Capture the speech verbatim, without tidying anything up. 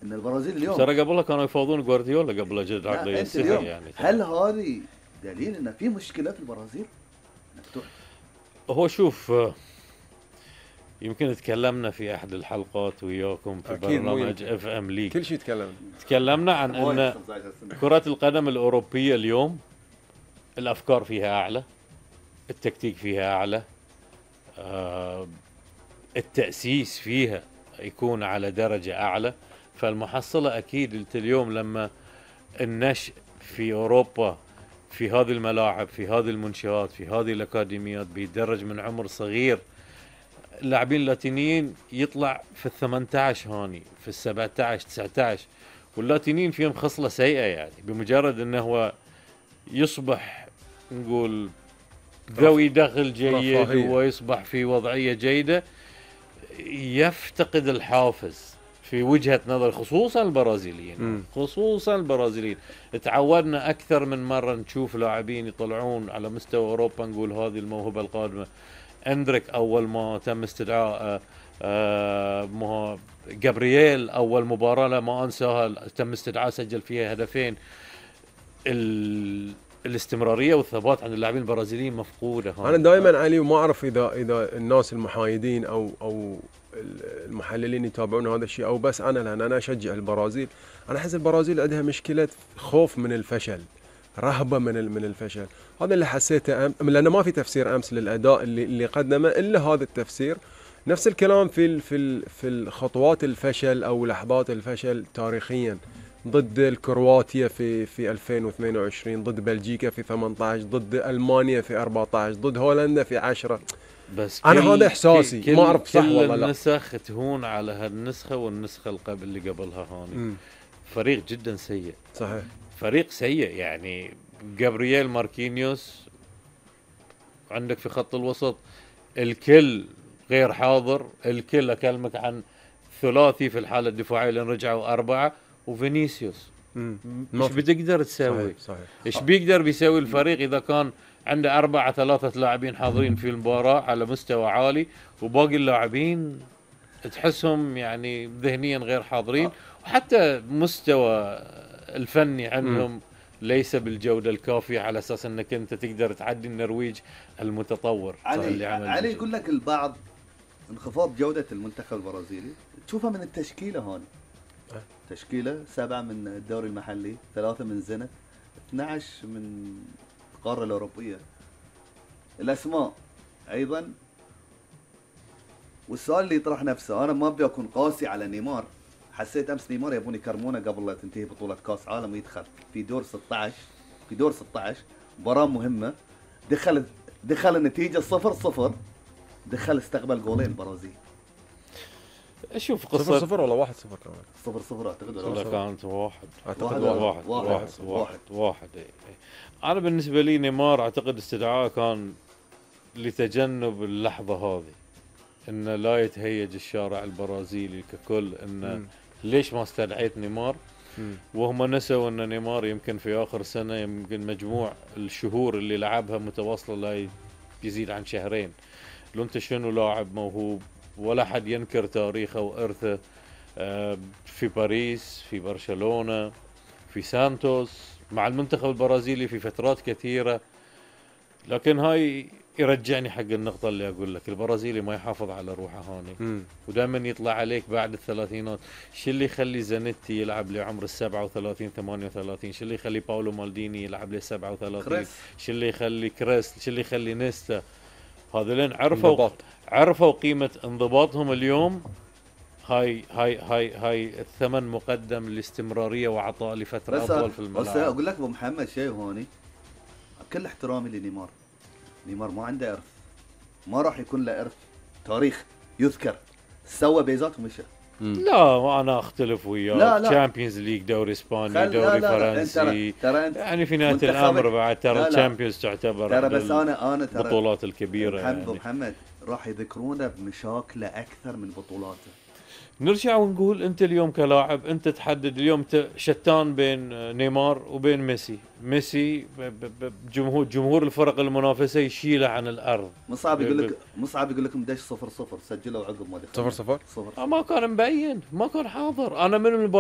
ان البرازيل اليوم ترى قبلها كانوا يفاوضون جوارديولا قبل جد لا عقلية انت اليوم يعني. هل هذه دليل ان في مشكله في البرازيل؟ هو شوف، يمكن تكلمنا في احد الحلقات وياكم في برنامج اف ام ليج، كل شيء تكلمنا تكلمنا عن ان كرة القدم الاوروبية اليوم الافكار فيها اعلى، التكتيك فيها اعلى، آه التأسيس فيها يكون على درجة اعلى. فالمحصلة اكيد انت اليوم لما النشء في اوروبا في هذه الملاعب في هذه المنشآت في هذه الاكاديميات بيدرج من عمر صغير، اللاعبين اللاتينيين يطلع في الثمانية عشر هاني في السبعة عشر تسعة عشر، واللاتينيين فيهم خصلة سيئة يعني بمجرد انه هو يصبح نقول ذوي دخل جيد ويصبح في وضعية جيدة يفتقد الحافز في وجهة نظر خصوصا البرازيليين. م. خصوصا البرازيليين تعودنا أكثر من مرة نشوف لاعبين يطلعون على مستوى أوروبا نقول هذه الموهبة القادمة. اندريك أول ما تم استدعاء آه جابرييل أول مباراة لا ما أنساها تم استدعاء سجل فيها هدفين. الاستمرارية والثبات عند اللاعبين البرازيليين مفقودة. أنا دائما علي وما أعرف إذا إذا الناس المحايدين أو أو المحللين يتابعون هذا الشيء أو بس أنا، لأن أنا أشجع البرازيل. أنا أحس البرازيل عندها مشكلة خوف من الفشل، رهبة من من الفشل. هذا اللي حسيته أم... لأنه ما في تفسير أمس للأداء اللي اللي قدمه إلا هذا التفسير. نفس الكلام في ال في ال في الخطوات الفشل أو لحظات الفشل تاريخيا، ضد الكرواتيا في في ألفين واثنين وعشرين، ضد بلجيكا في ثمانية عشر، ضد ألمانيا في أربعة عشر، ضد هولندا في عشرة. بس انا هذا احساسي، ما اعرف صح والله لا. النسخ تهون على هالنسخه والنسخه القبل اللي قبلها هوني. م. فريق جدا سيء. صحيح فريق سيء يعني. جابرييل ماركينيوس عندك في خط الوسط الكل غير حاضر، الكل اكلمك عن ثلاثي في الحاله الدفاعيه لان رجعوا اربعه، وفينيسيوس مش بتقدر تسوي. صحيح صحيح. ايش بيقدر بيسوي الفريق اذا كان عنده أربعة ثلاثة لاعبين حاضرين في المباراة على مستوى عالي وباقي اللاعبين تحسهم يعني ذهنيا غير حاضرين، وحتى مستوى الفني عندهم ليس بالجودة الكافية على أساس أنك أنت تقدر تعدي النرويج المتطور. علي, علي يقول لك البعض انخفاض جودة المنتخب البرازيلي تشوفها من التشكيلة هون. تشكيلة سبعة من الدوري المحلي، ثلاثة من زنة، اثني عشر من القارة الأوروبية. الأسماء أيضا. والسؤال اللي يطرح نفسه، أنا ما بدي أكون قاسي على نيمار، حسيت أمس نيمار يبون يكرمونه قبل لا تنتهي بطولة كأس عالم ويدخل في دور ستة عشر في دور ستة عشر مباراة مهمة، دخل دخل النتيجة صفر صفر، دخل استقبل جولين البرازيل. اشوف قصة صفر صفر ولا واحد صفر كمان؟ صفر صفر اعتقد ولا كانت واحد اعتقد واحد واحد واحد واحد, واحد, واحد. انا بالنسبة لي نيمار اعتقد استدعاء كان لتجنب اللحظة هذه، ان لا يتهيج الشارع البرازيلي ككل ان م. ليش ما استدعيت نيمار. م. وهم نسوا ان نيمار يمكن في اخر سنة يمكن مجموع الشهور اللي لعبها متواصلة لا يزيد عن شهرين. لو انت شنو لاعب موهوب ولا حد ينكر تاريخه وإرثه في باريس، في برشلونة، في سانتوس، مع المنتخب البرازيلي في فترات كثيرة. لكن هاي يرجعني حق النقطة اللي أقول لك، البرازيلي ما يحافظ على روحه هوني، ودائما يطلع عليك بعد الثلاثينات. شو اللي يخلي زانيتي يلعب لعمر السبعة وثلاثين ثمانية وثلاثين؟ شو اللي يخلي باولو مالديني يلعب لسبعة وثلاثين؟ شو اللي يخلي كريس؟ شو اللي يخلي نيستا؟ هذولين عرفوا عرفوا قيمة انضباطهم اليوم. هاي هاي هاي هاي الثمن مقدم للاستمرارية وعطاء لفترة أطول في الملعب. بس أقول لك أبو محمد شيء هوني، كل احترامي لنيمار، نيمار ما عنده إرث، ما راح يكون له إرث تاريخ يذكر. سوى بيزات ومشى. لا أنا أختلف وياك. تشامبيونز ليج، دوري إسباني، دوري لا لا فرنسي، ترى انت يعني في نهاية الأمر بعد ترى تشامبيونز تعتبر ترى بس أنا أنا ترى البطولات الكبيرة. محمد يعني. محمد راح يذكرونه بمشاكله أكثر من بطولاته. نرجع ونقول انت اليوم كلاعب انت تحدد اليوم شتان بين نيمار وبين ميسي. ميسي جمهور جمهور الفرق المنافسه يشيله عن الارض. مصعب يقول لك مصعب يقول لكم دش صفر صفر سجلوا عقب ما دخل صفر صفر صفر. ما كان مبين، ما كان حاضر. انا من